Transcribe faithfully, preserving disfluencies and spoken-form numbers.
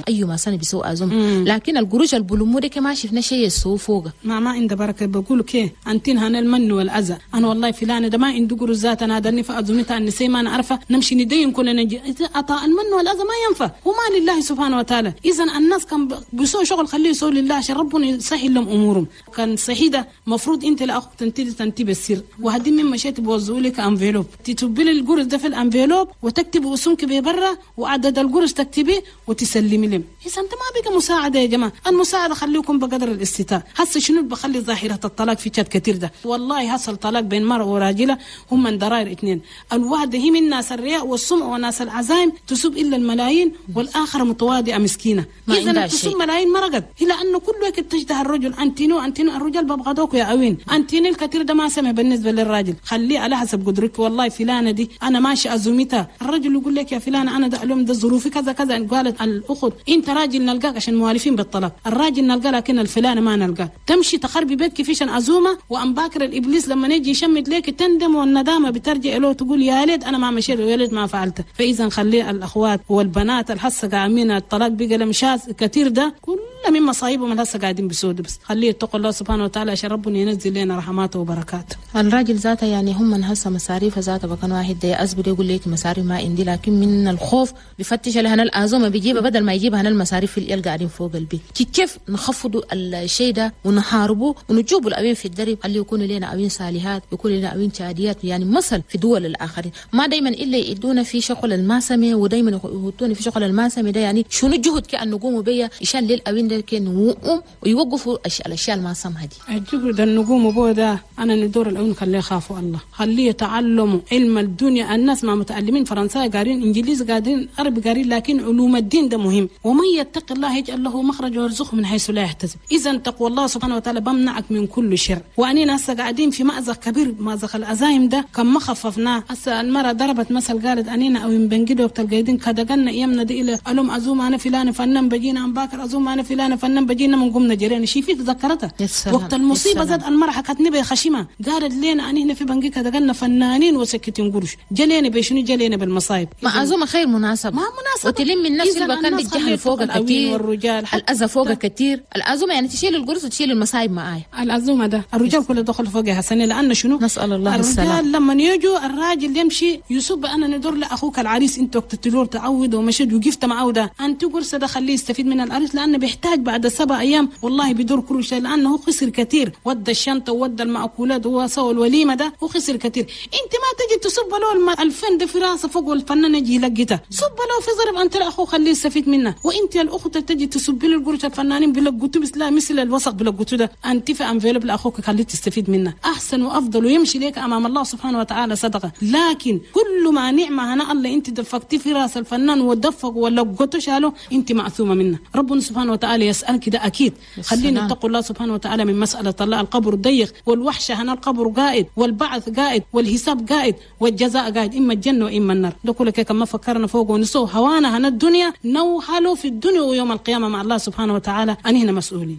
ايوه ما سنة بيسووا عزومة، لكن القروش البلومو ده ما شفنا شيء يسووا فوقه. ما ما عند بركة. بقولوا كي انتين هنا المن والاذى، انا والله فلان ده ما عنده قروش ذات، انا دني في عزومتها النساء ما انا عارفه نمشي ندين كلنا نجي. عطاء المن والاذى ما ينفع، وما لله سبحانه وتعالى. اذا الناس كان بيسووا شغل خليه يسووا لله عشان ربنا يسهل لهم امورهم. كان صحيح ده مفروض انت لاخوك تنتدي تنتبه بالسر، وهدي من مشيت بوزعوا لك enveloppe، تتبلي القرص ده في ال enveloppe وتكتب اسمك ببرا وعدد القرص تكتبيه وتسلمي لهم. اذا انت ما بقى مساعدة يا جماعة، المساعدة خليكم بقدر الاستطاعة. هسه شنو بخلي ظاهره الطلاق في تشاد كثير ده؟ والله حصل طلاق بين مرأة وراجله هم من ضرائر اثنين، الواحدة هي من ناس الرياء والسمع وناس العزايم تسوب الا الملايين، والاخرة متواضعة مسكينه. اذا تسوب ملايين مرقت هي لانه كل وقت تجده الرجل انتينو انتينو الرجال ببغضوك يا اوين انتينو الكثير ده ما سمع بالنسبة للراجل، خليه على حسب قدرك. والله فلانه دي انا ماشي ازومتها، الرجل يقول لك يا فلانه انا ده اليوم ده ظروفي كذا كذا. قالت الاخت انت راجل نلقاك عشان موالفين بالطلاق، الراجل نلقاه لكن الفلانه ما نلقاه. تمشي تخربي بيتك فيش عزومة، وام باكر الابليس لما يجي يشمت لك تندم، والندامه بترجع له تقول يا ليت انا ما مشيت ويا ليت ما فعلت. فاذا خلي الاخوات والبنات الحسه قاعدين الطلاق بقى لمشاز كثير ده كل من مصايبهم الهسه قاعدين بسود، بس خليه يتقوا الله سبحانه وتعالى عشان ربنا ينزل لنا رحماته وبركاته. الراجل ذاته يعني هم من هسه مصاريف ذاته بكون واحد ده أزبد يقول لك مصاريف ما عندي، لكن من الخوف بفتش لهنا الأزومة بيجيبها بدل ما يجيبها هنا المصاريف اللي قاعدين فوق البيت. كيف نخفضوا الشيء ده ونحاربه ونجيبوا الأوين في الدرب، خليه يكونوا لنا أوين صالحات، يكونوا لنا أوين تشاديات، يعني مثل في دول الآخرين. ما دايما إلا يدونا في شغل الماسمة ودايما يحطونا في شغل الماسمة ده، يعني شنو الجهد كأن نقوموا بيه عشان للأوين ده كان وقوم ويوقفوا الأشياء الماسمة دي. الجهد النقوم بيه ده أنا ندور الأوين خليه يخافوا الله، خليه يتعلموا علم الدنيا. الناس ما متعلمين فرنساوي قارين إنجليزي قارين عربي قارين، لكن علوم الدين ده مهم. ومن يتق الله يجعل له مخرج ويرزقه من حيث لا يحتسب. إذا تقوى الله سبحانه وتعالى بمنعك من كل شر. وأنينا هسه قاعدين في مأزق كبير، مأزق العزايم ده كم ما خففناه. هسه المرأة ضربت مثل قالت أنينا أو بنجد وقت القايدين كدقنا أيامنا دي إلى ألوم عزومة أنا فلان فنان بجينا أم باكر عزومة أنا فلان فنان بجينا من قمنا جرينا شي فيك ذكرتها وقت المصيبة زاد المرأة حكتني بخشمة قالت لنا أنينا في بنجي كدقنا فنانين وسكتين قروش جلينا بشنو جلينا بالمصايب. ما عزومة خير مناسبة، ما مناسبة وتلم الناس اللي كان الجهل فوق كثير والرجال الأذى فوق كثير. العزومة يعني تشيل القرص وتشيل المصايب معايا. العزومة ده الرجال كله دخل فوق يا حسن، لأن شنو نسأل الله السلام. الرجال لما يجوا الراجل يمشي يسب أنا ندور لأخوك العريس أنت وقت تلور تعود ومشيت وقفت معه ده أنت قرص ده خليه يستفيد من العريس، لأنه بيحتاج بعد سبع أيام والله بيدور كل شيء، لأنه خسر كثير، ودى الشنطة وودى المأكولات وسوى الوليمة ده وخسر كثير. أنت ما تجي تصب له الفن ده في راسه فوق والفنان يجي يلقيته صب له في ضرب أنت لأخوه خليه يستفيد منه. وأنت الأخت تجي تصب له القرش الفنانين بلقوته بس لا مثل الوسق بلقوته ده أنت في enveloppe لأخوك خليه تستفيد منه أحسن وأفضل ويمشي لك أمام الله سبحانه وتعالى صدقة. لكن كل ما نعمة هنا الله أنت دفقتي في راس الفنان ودفق ولقوته شاله أنت معثومة منه. ربنا سبحانه وتعالى يسألك ده أكيد. خلينا نتقوا الله سبحانه وتعالى من مسألة الله. القبر ضيق والوحشة هنا القبر قائد والبعث قائد والحساب قائد والجزاء قائد، إما الجنة وإما النار. ده كله كما فكرنا فوق ونسوه هوانا هنا الدنيا نوحلوا في الدنيا ويوم القيامة مع الله سبحانه وتعالى أنهنا مسؤولين.